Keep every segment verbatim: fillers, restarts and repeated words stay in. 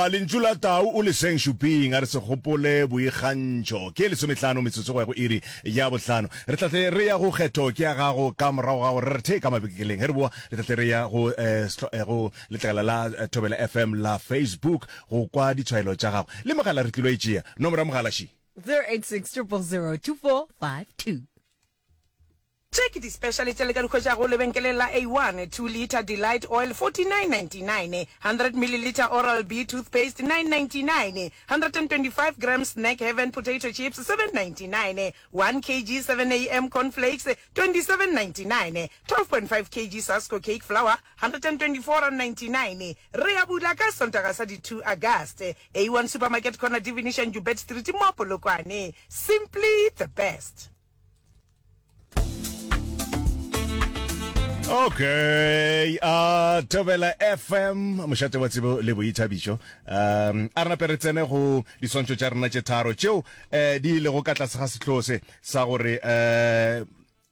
A lentšu la tau o le seng šuping, a re se gopole boikgantšho. Ke lesomehlano metsotso go ya go iri ya bohlano. Re tla tle re ya go kgetho ke ya gago ka morago ga gore re re the ka mabekeleng. Ge re boa re tla tle re ya go eh, eh, go letlakala la eh, Thobela F M la Facebook go kwa ditshwaelo tša gago. Le mogala re tlilo e tšea. Nomoro ya mogala še. zero eight six zero zero zero two four five two. Tše ke di-special tše le ka di hwetšago lebenkeleng la A one, two litre Delight Oil forty-nine ninety-nine, hundred millilitre Oral-B toothpaste nine ninety-nine, one hundred twenty-five grams Snack Heaven potato chips seven ninety-nine, one kilogram seven A M cornflakes twenty-seven ninety-nine, twelve point five kilograms Sasko cake flour one hundred twenty-four ninety-nine. Re a bula ka Sontaga sa di two August. A one Supermarket, corner Divination Joubert Street mo Polokwane. Simply the best. Okay, uh, Thobela F M, mošate wa tsebo le boithabišo. Um, a re nape re tsene go diswantšho tša rena tše tharo tšeo eh, di lego ka tlase ga sehlogo se sa gore eh,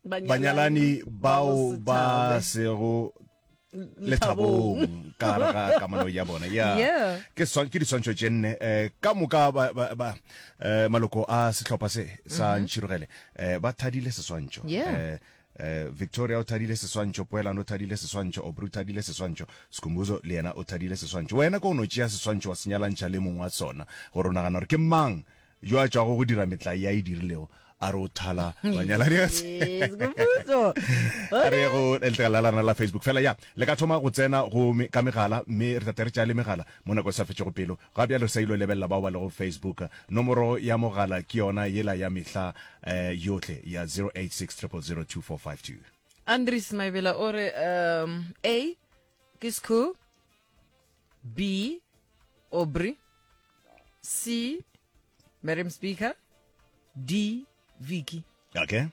banyalani bao ba sego lethabong ka gare ga kamano ya bona ya. Yeah. Ke swan- ke diswantšho tše nne eh, ka moka ba, ba, ba, eh, maloko a sehlopha se sa Ntšhirogele eh, ba thadile seswantšho. Yeah. eh, eh, Victoria o thadile seswantšho, Poelano o thadile seswantšho, Aubrey o thadile seswantšho, Skhumbuzo le yena o thadile seswantšho. Wena ko o no tšea seswantšho wa se nyalantšha le mongwe wa sona gore o nagana gore ke mang yo a tšwago go dira metlae ya e dirilego a re o thala banyalani. Yes, Skhumbuzo. A re go letlakala la rena la Facebook fela ya le ka thoma go tsena go me- ka megala, mme re tate re tšea le megala mo nako e sa fetšego pelo. Ga bjale re sa ilo lebelela bao ba lego Facebook. Nomoro ya mogala ke yona yela ya mehla eh, yohle ya zero eight six zero zero zero two four five two. Andries Maibela o re um, A ke Skhu, B Aubrey, C Madam Speaker, D Vicky. Okay.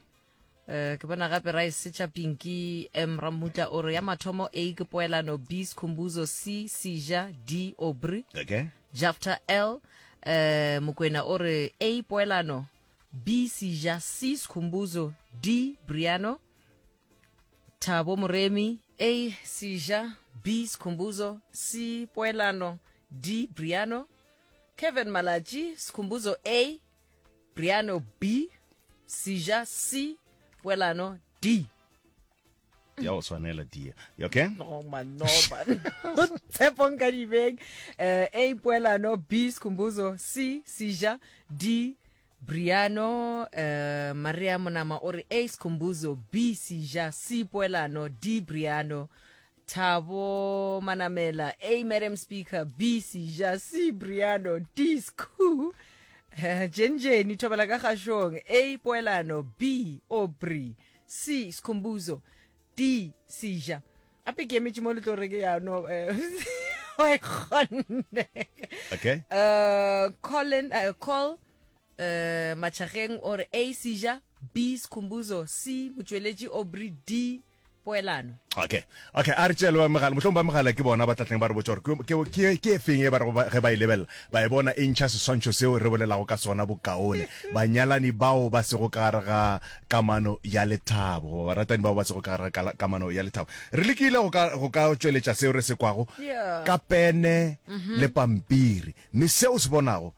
Uh, ke bona gape ra e setša Pinky M Ramutla o re ya mathomo A ke Poelano, B Skhumbuzo, C Seja, D Aubrey. Okay. Jafta L uh, Mokwena o re A Poelano, B Seja, C Skhumbuzo, D Briano. Thabo Moremi, A Seja, B Skhumbuzo, C Poelano, D Briano. Kevin Malachi, Skhumbuzo A, Briano B, Seja C, Poelano D. Ya go tshwanela dia. Okay. No man, no man. Tshepo Nkadibeng, uh, A Poelano, B Skhumbuzo, C Seja, D Briano. uh, Maria Monama o re A Skhumbuzo, B Seja, C Poelano, D Briano. Thabo Manamela, A Madam Speaker, B Seja, C Briano, D Skhu. Uh, Jenjeni thobela ka kgašong, A Poelano, B Aubrey, C Skhumbuzo, D Seja. Ape ke emetše mo le tlo re ke yano eh, wa e kgonne. Okay. uh, Colin uh, call uh, Machageng o re A Seja, B Skhumbuzo, C Motšweletši Aubrey, D Poelano. okay okay a re tšeele ba megala, mohlomong ba megala ke bona ba tlatleng ba re botša gore ke- ke ke e feng e ba rego ba- ge ba e lebelela ba e bona e ntšha seswantšho seo re bolelago ka sona bokaone, banyalani bao ba sego ka gare ga kamano ya lethabo goba baratani bao ba sego ka gare ga kala- kamano ya lethabo. Re lekile go ka go ka tšweletša seo re se kwago Yeah. ka pene le pampiri, mme seo se bonago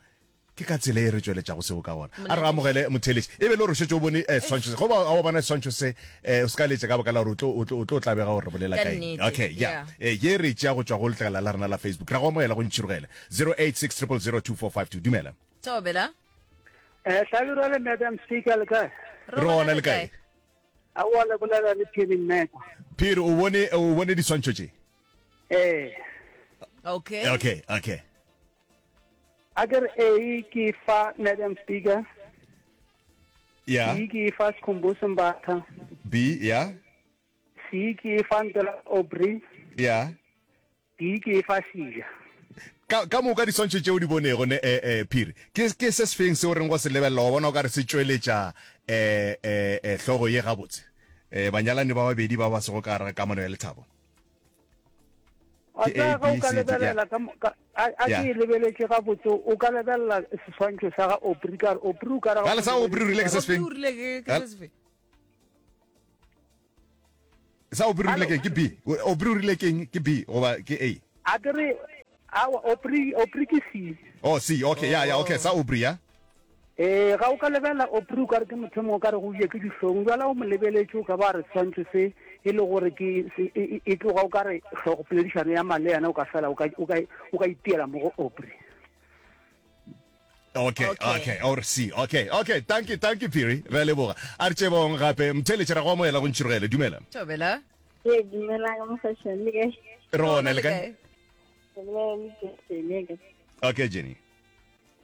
ke ka tsela e re tšweletšago seo ka gona. A re amogele motheletši e be le gore o šetše o bone eh, seswantšho se, goba o bona seswantšho se eh, o se ka letša ka baka la gore o tlo- o tlo o tlo tlabega gore re bolela Ka ka eng. nnete, Okay, ya. Yeah. Eh, ye re tšea go tšwa go letlakala la rena la Facebook. Ra go amogela go Ntšhirogele, zero eight six zero zero zero two four five two. Dumela. Thobela. Eh, Hlabirwa le Madam Speaker, le kae? Re gona, le kae? Aowa, le bolela le Phiri Mmeko. Phiri, o bone o bone diswantšho tše? Eh, Okay. okay okay a ke re A ke fa Madam Speaker, ya. B ke fa Skhumbuzo Mbatha, B, ya. C ke fa Ntela Aubrey, ya. D ke fa Seja. ka ka moka diswantšho tšeo di bonego ne, eh, eh, Phiri, ke ke se sefeng seo reng go se lebelela wa bona o ka re se tšweletša eh, eh, eh, hlogo ye gabotse, eh, banyalani ba babedi ba ba sego ka gare ga kamano ya lethabo? A Ke tsaya A, ge o B, ka C, D, lebelela ka mo- ka- a a Yeah. ke e lebeletše gabotse, o ka lebelela seswantšho sa ga Aubrey ka re Aubrey o ka re ga Gale sa Aubrey o rile ke se sefeng? O rile ke ke Hel- se sefe? Sa Aubrey o rile keng? Ke B? Aubrey o rile keng? Ke B goba ke A? A ke re Aowa, Aubrey, Aubrey ke C. Oh, C, okay, ya, ya, okay, sa Aubrey, ya. Ee, ga o ka lebelela Aubrey o ka re ke motho mongwe o ka re go je ke dihlong. Bjale o mo lebeletše o ka ba re seswantšho se e le gore ke se, e, e, e tloga o ka re hlogopoledišano ya male yena o ka fela o ka, o ka, o ka itiela mo go Aubrey. Okay, Okay. okay, or C. Okay, okay, thank you, thank you Phiri. Re a leboga. A re tšebong gape mtheletše ra go amohela go ntšhirogele. Dumela. Thobela. Ee, dumelang mogašane le kae? Re gona le kae? Ke bolela le Jenny ka. Okay, Jenny.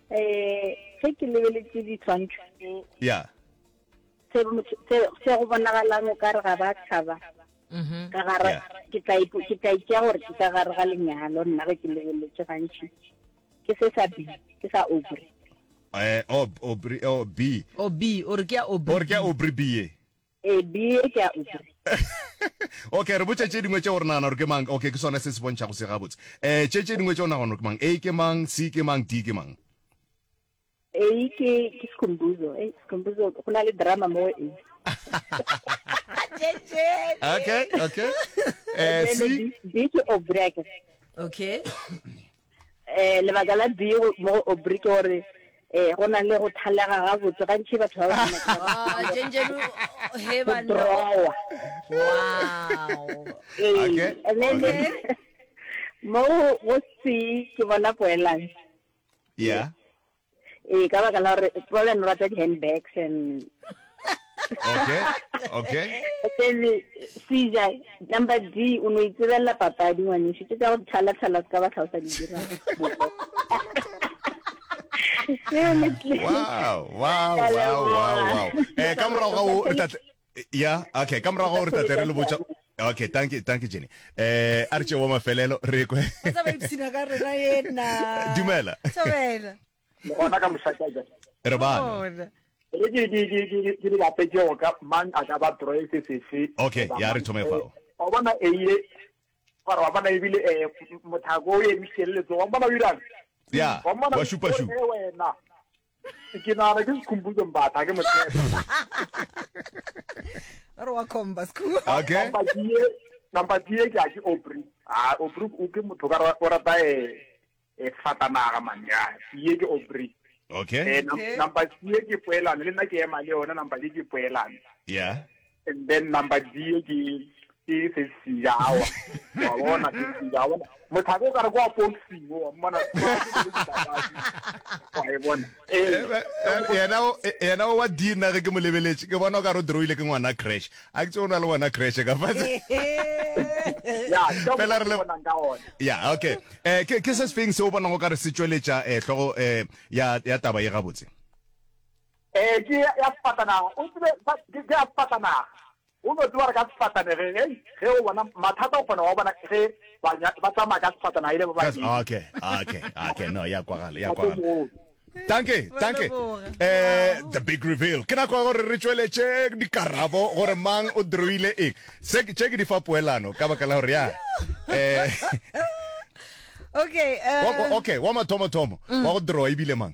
Eh, ge ke lebeletše ditshwantšho tse, Yeah. se motho- se se go bonagalang o ka re ga ba thaba Mhm. ka gare Yeah. ke tla ipo- ke tla itšea gore ke ka gare ga lenyalo nna ge ke lebeletše gantši ke se sa B ke sa Aubrey Eh, oh, Aubrey, oh, B. O B, o re ke ya Aubrey. O re ke ya Aubrey B ye. ee B e ke ya Aubrey Okay, re botše tše dingwe tše o re nagana gore ke mang. Okay, ke sona se se bontšhago se gabotse. Eh, tše tše dingwe tše o nagana gore ke mang. A ke mang, C ke mang, D ke mang. A ke ke Skhumbuzo eh Skhumbuzo go na le drama mo A Okay, okay. Eh, Then C. B B ke Aubrey akere. Okay. eh lebaka la B go- mo go Aubrey ke gore eh go na le go thalega gabotse gantši batho ba ba Ah, Jenjenu he go banna. drawa Wow. Ee, Okay, and then okay. mo go C ke bona poelano Yeah. ee ka baka la gore poelano o rata di-handbags and Okay. Okay. then Caesar number D o no itsebelela papadi ngwaneso tse tsa go thala-thala se ka ba tlhalosa di dira Wow, wow, wow, wow, wow. Eh, ka morago ga o re tla ya, okay, ka morago ga o re tla tle re le botša. Okay, thank you, thank you Jenny. Eh, a re tšeo wa mafelelo re kwe. Ba tsa ba ipshina ka rena yena. Dumela. Thobela. gona ka mošaka ja Re bana. Bona. re ke ke ke ke ke di bapetse go ka mang a ka ba droe se sefe Okay, goba ya re mang. thome Eh, fao. wa bona eiye gore wa bona ebile um mothako o emišitše le letsogo wa bona o irang Ya, wa mmona wa šupa šupa. o re, wena ke nagana ke Sekhumbuzo Mbatha ke motshepe Ba re wa comba school. Okay. number D number D ke a ke Aubrey ah Aubrey o ke motho ka o rata eh eh fatanaga man ya ye ke Aubrey Okay. eh num- Okay. number C ke poelano le nna ke ema le yona number D ke poelano Yeah. and then number D ke ke se sijawa wa bona se sijawa mothako o ka re kwa boxing wa mmona wa e bona Eh, eh eh, yena o- eh, yena o wa D nna ge ke mo lebeletše ke bona o ka re o drawile ke ngwana crash a ke tse o na le ngwana crash ka fatshe ya ka Fela re le- bonang ka ona ya okay eh ke ke se sefeng se o bonago ka re se tšweletša eh hlogo eh ya ya taba ye gabotse eh ke ya ya sefatanaga o tsebe ba- ke ke ya sefatanaga o no tseba gore ka sefatanege ge ge o bona mathata o kgona wa bona ge ba nya- ba tsamaya ka sefatanaga ile ba Ka- babedi okay okay okay no ya kwagala ya Ba kwagala tlo Danke, danke. leboga. Eh, the big reveal. Ke nako ya gore re tšweletše dikarabo gore mang o drawile eng. Se ke tše ke di fa poelano ka baka la gore ya. Eh, Okay, wa- wa- eh okay, wa mathomo thomo wa go draw ebile mang?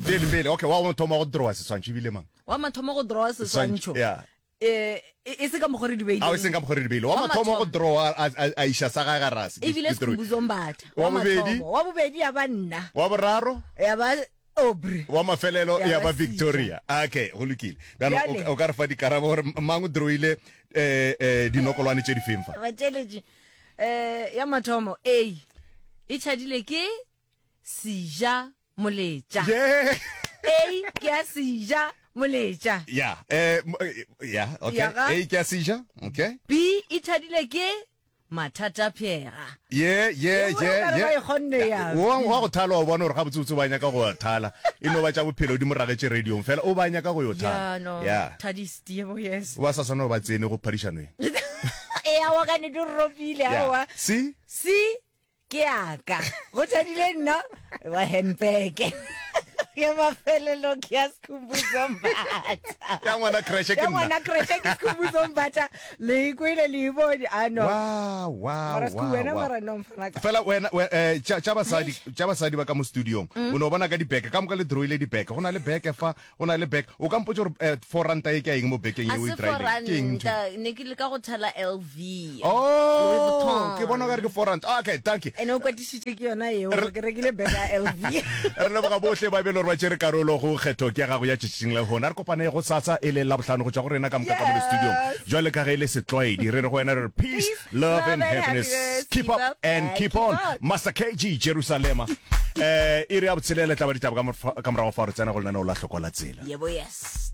Pele pele, okay, wa mathomo wa go draw seswantšho ebile mang? wa mathomo go draw seswantšho. Yeah. Eh e e se ka mokgwa re di A o seng beileng. ka mokgwa re di beile. Wa Wa mathomo wa go mathomo. draw a a- a iša sa gagwe garase. Ebile Skhumbuzo Mbatha. Wa bobedi? mathomo. Wa bobedi ya ba nna. Wa boraro? Ya ba Aubrey. Wa mafelelo Ya ya ba ba Victoria. Okay, go lokile. Bjalo Bjale. o ka re fa dikarabo gore mang o drawile eh eh dinokolwane tše di feng fa. Batšeletši. Eh ya mathomo A e tšhadile ke Seja Moletša. Yeah. A ke ya Seja Moletša. Yeah, eh mo- eh, yeah, okay. Ya ga. A ke a seja, okay. B e tšhadile ke Mathata Phega. Yeah, yeah, E bona yeah, okare ba yeah. e kgonne ya. Wa wa go thala wa bona gore gabotsebotse ba nyaka go thala. E no ba tša bophelo di mo ragetše radiong fela o ba nyaka go yo Ya thala. no. Yeah. Thadisti yebo yes. O ba sa swana ba tsene go phadišanweng. E ya wa ka ne di ropile Yeah. aowa. See? C ke yaka. Go tšhadile nna wa handbag. Ya mafelelo ke ya Skhumbuzo Mbatha. Ya ngwana creche ke Ya nna. ngwana creche ke Skhumbuzo Mbatha. Le ikwele le e bone. Ah no. Wow, wow, Mara Skhu wow, wena wow. mara no mfana ka. Fela wena we- eh, tša tša basadi tša basadi ba ka mo studiong Mm. o no bona ka dibeke ka moka le drawile dibeke go na le beke fa go na le beke o ka mpotsa gore eh, four ranta e ke ya eng mo bekeng A ye o e se four drawileng ke eng ntho ranta ne ke leka go thala lv Louis oh Vuitton. ke bona o ka re ke four ranta okay thank you Ene o kwatišitše ke yona eo gore ke rekile bag ya LV. re leboga bohle ba bele gore ba tšere karolo go kgetho ke ya gago ya tšatšing la gona re kopane go sasa e le labohlano go tšwa go rena ka moka ka mo le studiong jwale ka ge e le setlwaedi re re go wena re re peace love and happiness keep up and keep on master kg jerusalema eh iri ya botshelela tla ba ditaba ka morfa- ka morago fa re tsena go lenaneo la hloko la tsela yebo yes